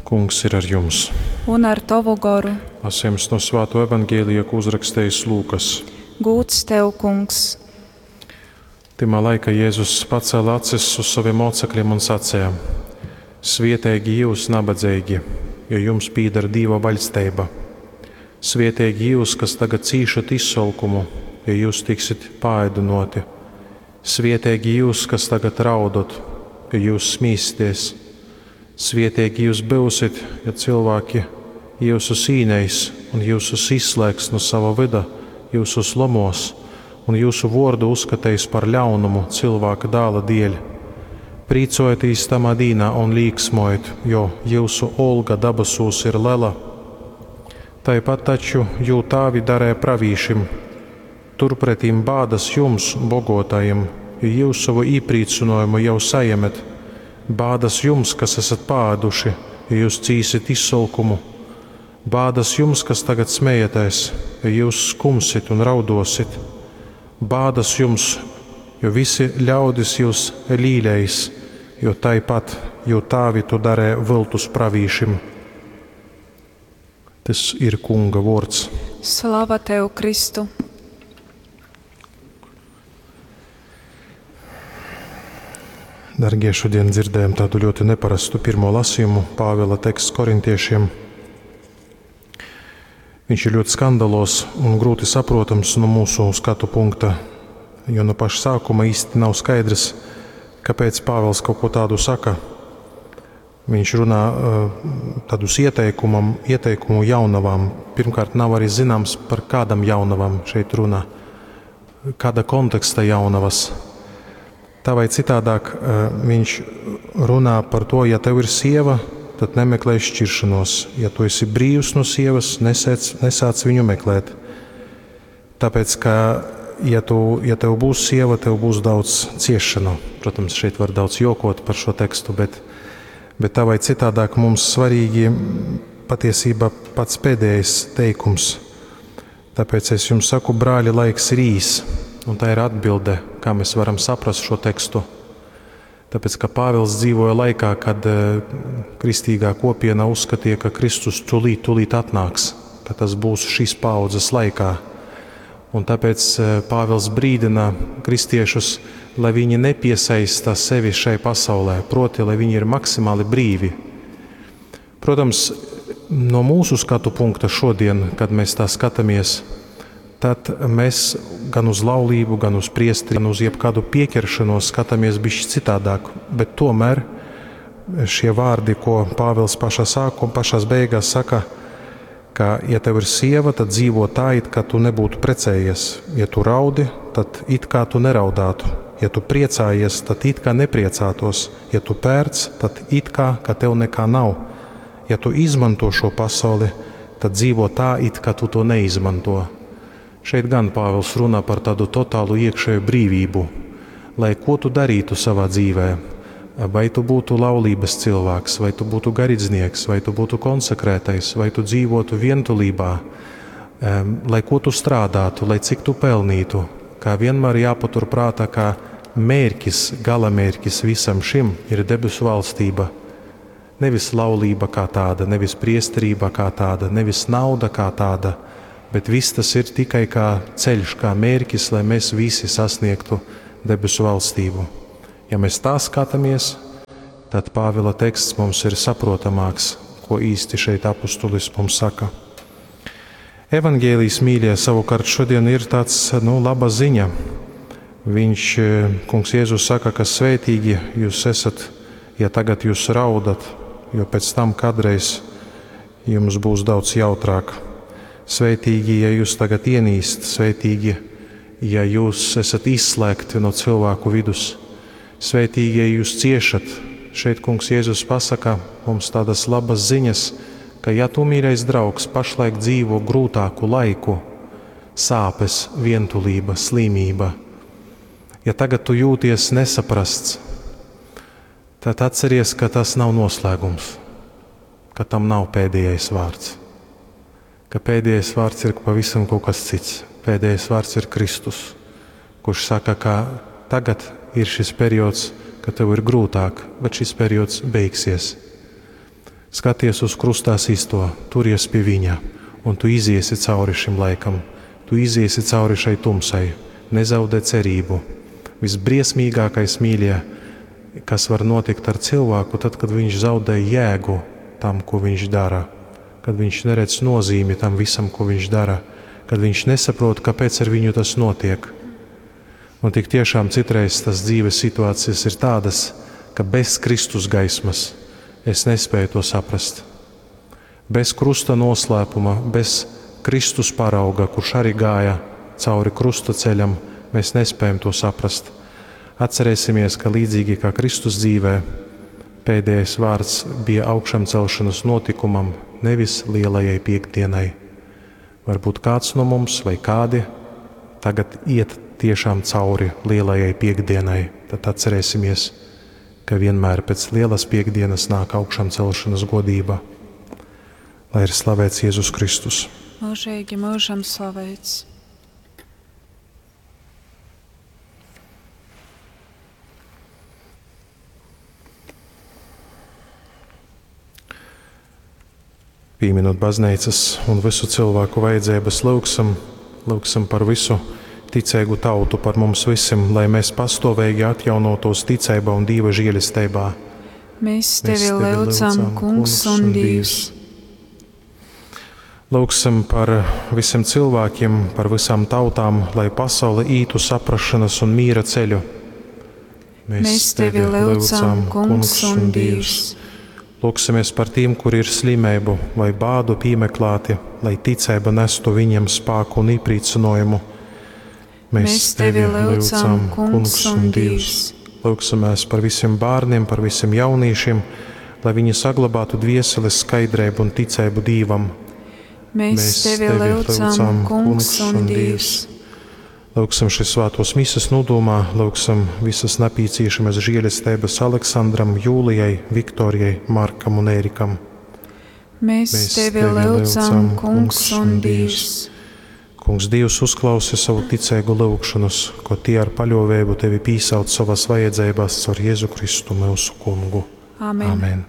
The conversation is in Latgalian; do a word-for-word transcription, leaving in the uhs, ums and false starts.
Kungs ir ar jums. Un ar tovu goru. Lasījums no Svāto evaņģēlija, ko uzrakstījis Lūkas. Gūds tev, Kungs. Timā laikā Jēzus pacēla acis uz saviem mocekļiem un sacīja: Svietīgi jūs, nabadzīgi, jo jums pīdar Dīva vaļsteiba. Svietīgi jūs, kas tagad cīšat izsolkumu, jo jūs tiksit paēdinoti. Svietīgi jūs, kas tagad raudot, jo jūs smīsieties. Svietīgi jūs būsit, ja cilvēki jūsus īneis un jūsus izslēgs no sava vida, jūsus lomos un jūsu vordu uzskateis par ļaunumu cilvēka dāla dieļ. Prīcojieties tamā dīnā un līksmojiet, jo jūsu olga dabasūs ir lela. Tāpat taču jū tāvi darēja pravīšim. Turpretīm bādas jums, bogotajiem, jo jūs savu īprīcinājumu jau sajemet. Bādas jums, kas esat pāduši, jo jūs cīsit izsolkumu. Bādas jums, kas tagad smejaties, jo jūs skumsit un raudosit. Bādas jums, jo visi ļaudis jūs līleis, jo taipat, jo tāvi tu darē viltus pravīšim. Tas ir Kunga vārds. Slava tev, Kristu! Dargie, šodien dzirdējam tādu ļoti neparastu pirmo lasījumu, Pāvila teksts korintiešiem. Viņš ir ļoti skandalos un grūti saprotams no mūsu skatu punkta, jo no paša sākuma īsti nav skaidrs, kāpēc Pāvils kaut ko tādu saka. Viņš runā tādus ieteikumam, ieteikumu jaunavām. Pirmkārt, nav arī zināms, par kādam jaunavam šeit runā, kāda konteksta jaunavas. Tā vai citādāk viņš runā par to, ja tev ir sieva, tad nemeklē šķiršanos. Ja tu esi brīvs no sievas, nesēc, nesāc viņu meklēt. Tāpēc, ka ja, tu, ja tev būs sieva, tev būs daudz ciešanu. Protams, šeit var daudz jokot par šo tekstu, bet, bet tā vai citādāk mums svarīgi patiesībā pats pēdējais teikums. Tāpēc es jums saku, brāļi, laiks ir īs. Un tā ir atbilde, kā mēs varam saprast šo tekstu. Tāpēc, ka Pāvils dzīvoja laikā, kad kristīgā kopiena uzskatīja, ka Kristus tūlīt, tūlīt atnāks, ka tas būs šīs paaudzes laikā. Un tāpēc Pāvils brīdina kristiešus, lai viņi nepiesaista sevi šai pasaulē, proti, lai viņi ir maksimāli brīvi. Protams, no mūsu skatu punkta šodien, kad mēs tā skatāmies, tad mēs gan uz laulību, gan uz priesteri, gan uz jebkādu pieķeršanos skatāmies bišķi citādāk. Bet tomēr šie vārdi, ko Pāvils pašā sākumā, pašās beigās saka, ka, ja tev ir sieva, tad dzīvo tā, it kā tu nebūtu precējies. Ja tu raudi, tad it kā tu neraudātu. Ja tu priecājies, tad it kā nepriecātos. Ja tu pērc, tad it kā, ka tev nekā nav. Ja tu izmanto šo pasauli, tad dzīvo tā, it kā tu to neizmanto. Šeit gan Pāvils runā par tādu totālu iekšēju brīvību, lai ko tu darītu savā dzīvē, vai tu būtu laulības cilvēks, vai tu būtu garīdznieks, vai tu būtu konsekrētais, vai tu dzīvotu vientulībā, lai ko tu strādātu, lai cik tu pelnītu, kā vienmēr jāpatur prātā, ka mērķis, galamērķis visam šim ir debesu valstība. Nevis laulība kā tāda, nevis priesterība kā tāda, nevis nauda kā tāda, bet viss tas ir tikai kā ceļš, kā mērķis, lai mēs visi sasniegtu debesu valstību. Ja mēs tā skatāmies, tad Pāvila teksts mums ir saprotamāks, ko īsti šeit apustulis mums saka. Evangēlijs, mīļie, savukārt šodien ir tāds, nu, laba ziņa. Viņš, Kungs Jēzus saka, ka svētīgi jūs esat, ja tagad jūs raudat, jo pēc tam kādreiz jums būs daudz jautrāk. Svētīgi, ja jūs tagad ienīst, svētīgi, ja jūs esat izslēgti no cilvēku vidus, svētīgi, ja jūs ciešat. Šeit Kungs Jēzus pasaka mums tādas labas ziņas, ka ja tu, mīļais draugs, pašlaik dzīvo grūtāku laiku, sāpes, vientulība, slimība, ja tagad tu jūties nesaprasts, tad atceries, ka tas nav noslēgums, ka tam nav pēdējais vārds. Ka pēdējais vārds ir pavisam kaut kas cits. Pēdējais vārds ir Kristus, kurš saka, ka tagad ir šis periods, ka tev ir grūtāk, bet šis periods beigsies. Skaties uz krustā systo, turies pie viņa, un tu iziesi cauri šim laikam, tu iziesi cauri šai tumsai, nezaudē cerību. Visbriesmīgākais, mīļie, kas var notikt ar cilvēku, tad, kad viņš zaudē jēgu tam, ko viņš dara, kad viņš neredz nozīmi tam visam, ko viņš dara, kad viņš nesaprot, kāpēc ar viņu tas notiek. Un tik tiešām citreiz tas dzīves situācijas ir tādas, ka bez Kristus gaismas es nespēju to saprast. Bez krusta noslēpuma, bez Kristus parauga, kurš arī gāja cauri krusta ceļam, mēs nespējam to saprast. Atcerēsimies, ka līdzīgi kā Kristus dzīvē, pēdējais vārds bija augšām celšanas notikumam, nevis lielajai piekdienai. Varbūt kāds no mums vai kādi tagad iet tiešām cauri lielajai piekdienai, tad atcerēsimies, ka vienmēr pēc lielas piekdienas nāk augšām celšanas godība. Lai ir slavēts Jēzus Kristus. Mūžīgi mūžam slavēts. Pieminot baznīcas un visu cilvēku vajadzības, lūgsim, lūgsim par visu ticīgu tautu, par mums visiem, lai mēs pastāvīgi atjaunotos ticeībā un Dieva žēlestībā. Mēs tevi lūdzam, Kungs un Dievs. Lūgsim par visiem cilvēkiem, par visām tautām, lai pasaule ītu saprašanas un mīra ceļu. Mēs, Mēs tevi lūdzam, Kungs un Dievs. Lūksimies par tiem, kuri ir slimību vai bādu piemeklēti, lai ticība nestu viņiem spēku un iepriecinājumu. Mēs, Mēs tevi lūdzam, Kungs un Dievs. Lūksimies par visiem bērniem, par visiem jauniešiem, lai viņi saglabātu dvieseles skaidrību un ticību Dievam. Mēs, Mēs tevi lūdzam, Kungs un Dievs. Lūksim šīs svētos mises nodomā, lūksim visas nepieciešamas žēlestības Aleksandram, Jūlijai, Viktorijai, Markam un Ērikam. Mēs, Mēs tevi lūdzam, Kungs un Dievs. Kungs Dievs uzklausi savu ticīgu lūgšanas, ko tie ar paļāvību tevi pīsauc savās vajadzībās caur Jēzu Kristu mūsu kungu. Amen. Amen.